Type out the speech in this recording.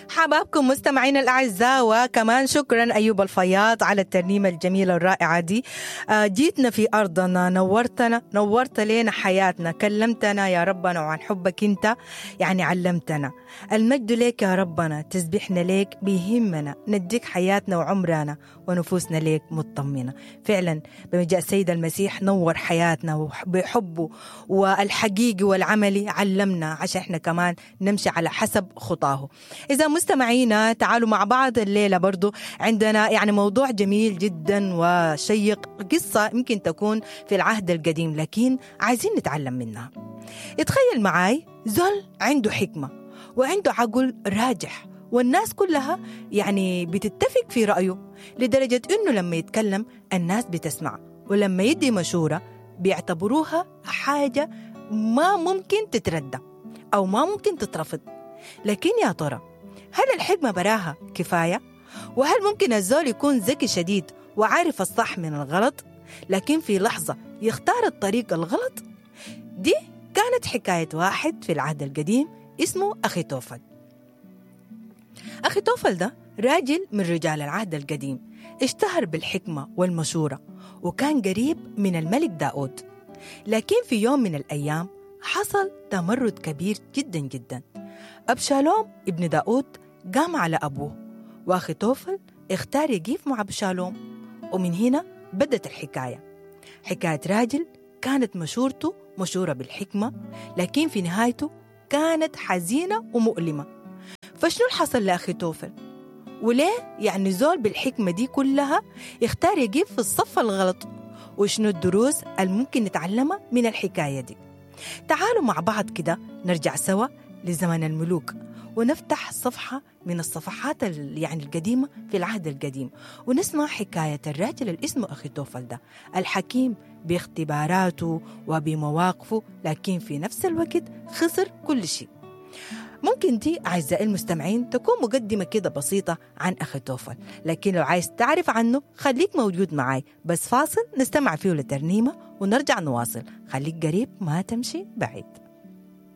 حبابكم مستمعينا الأعزاء، وكمان شكرا أيوب الفياض على الترنيمة الجميلة الرائعة دي. جيتنا في أرضنا، نورتنا، نورت لنا حياتنا، كلمتنا يا ربنا وعن حبك أنت يعني علمتنا. المجد ليك يا ربنا، تسبيحنا ليك بيهمنا، نديك حياتنا وعمرنا ونفوسنا ليك مطمنة. فعلا بمجيء السيد المسيح نور حياتنا بحبه والحقيقي والعملي، علمنا عشان احنا كمان نمشي على حسب خطاه. إذا مستمعينا تعالوا مع بعض الليلة برضو عندنا يعني موضوع جميل جدا وشيق، قصة يمكن تكون في العهد القديم لكن عايزين نتعلم منها. اتخيل معاي زول عنده حكمة وعنده عقل راجح، والناس كلها يعني بتتفق في رأيه، لدرجة إنه لما يتكلم الناس بتسمع، ولما يدي مشورة بيعتبروها حاجة ما ممكن تتردى أو ما ممكن تترفض. لكن يا ترى هل الحكمة براها كفاية؟ وهل ممكن الزول يكون ذكي شديد وعارف الصح من الغلط لكن في لحظة يختار الطريق الغلط؟ دي كانت حكاية واحد في العهد القديم اسمه أخيتوفل. أخيتوفل ده راجل من رجال العهد القديم، اشتهر بالحكمة والمشورة، وكان قريب من الملك داود. لكن في يوم من الأيام حصل تمرد كبير جدا جدا. أبشالوم ابن داود قام على أبوه، وأخيتوفل اختار يقيف مع أبشالوم، ومن هنا بدت الحكاية. حكاية راجل كانت مشورته مشورة بالحكمة، لكن في نهايته كانت حزينة ومؤلمة. فشنو اللي حصل لأخيتوفل؟ وليه يعني زول بالحكمة دي كلها يختار يقيف في الصف الغلط؟ وشنو الدروس الممكن نتعلمها من الحكاية دي؟ تعالوا مع بعض كده نرجع سوا لزمن الملوك، ونفتح صفحة من الصفحات يعني القديمة في العهد القديم، ونسمع حكاية الراجل اللي اسمه أخيتوفل ده، الحكيم باختباراته وبمواقفه، لكن في نفس الوقت خسر كل شيء. ممكن دي أعزائي المستمعين تكون مقدمة كده بسيطة عن أخيتوفل، لكن لو عايز تعرف عنه خليك موجود معاي. بس فاصل نستمع فيه لترنيمة ونرجع نواصل. خليك قريب ما تمشي بعيد.